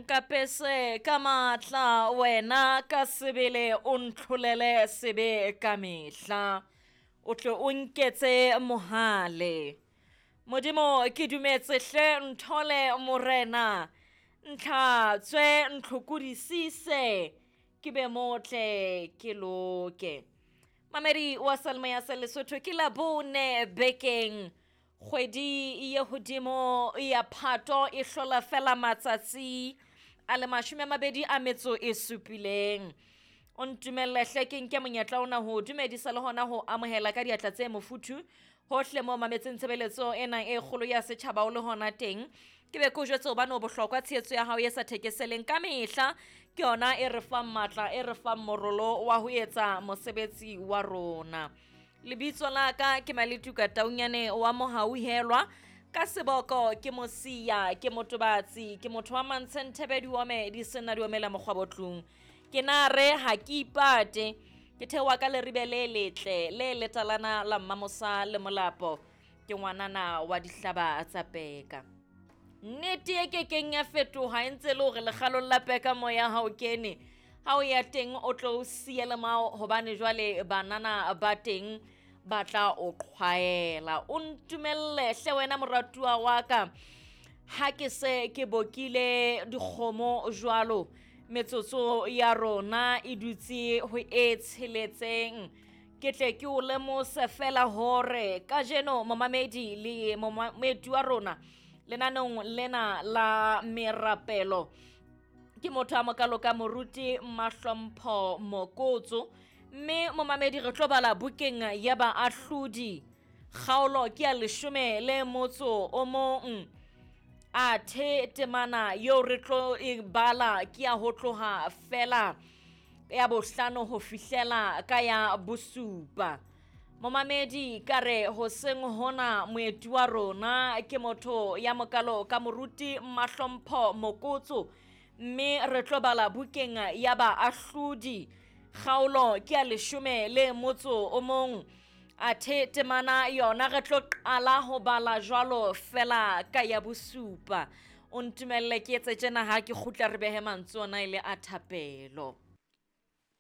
Nkapese ka matla wena ka sebele o ntlholele sebe ka mehla, o tle o nketse mohale. Modimo ke dumetse hle nthole morena, ntlhatswe ntlhokodisise ke be motle ke loke. Mamedi wa Salmo ya sa Lesotho ke Labone bekeng kgwedi ye hodimo ya Phato e hlola fela matsatsi a le 27. O ntumelle hle ke nke monyetla ona ho dumedisa le hona ho amohela ka diatla tse mofuthu hohle mo mametseng tshebeletso ena e kgolo ya setjhaba o le hona teng. Ke be ke o jwetse hobane o bohlokwa tshehetso ya hao e sa thekeseleng ka mehla ke yona e re fang matla, e re fang morolo wa ho etsa mosebetsi wa rona. Lebitso la ka ke Maletuka Taunyane wa Mohauhelwa, ka seboko ke Mosia, ke motobatsi, ke motho wa mantshe diome di sena di omela mokgwabotlung. Ke na re ha ke ipate, ke theoha ka leribe le letle le letalana la Mmamosa le Molapo, ke ngwanana wa dihlaba tsa peka. Nnete e kekeng ya fetoha e ntse le hore lekgalong la peka moya ha o kene, ha o ya teng o tlo o siya le mao hobane jwale banana ba teng ba tla o qhwaela. O ntumelle hle wena moratuwa wa ka, ha ke se ke bokile dikgomo jwalo, metsotso ya rona e dutse ho e tsheletseng. Ke tle ke o lemose fela hore kajeno momamedi le moeti wa rona lenaneong lena la merapelo ke motho a mokalo ka moruti Mahlompho Mokotso, mme momamedi re tlo bala bukeng ya Baahlodi kgaolo ke ya 11, athe temana eo re tlo e bala ke ya ho tloha fela ya 5 ho fihlela ka ya 7. Momamedi ka re hoseng hona moeti wa rona ke motho ya mokalo ka moruti Mahlompho Mokotso, mme re tlo bala bukeng ya Baahlodi kgaolo ke ya 11, athe temana yona re tlo qala ho bala jwalo fela ka ya 7. O ntumelle ke etse tjena ha ke kgutla re behe mantswe ona e le a thapelo.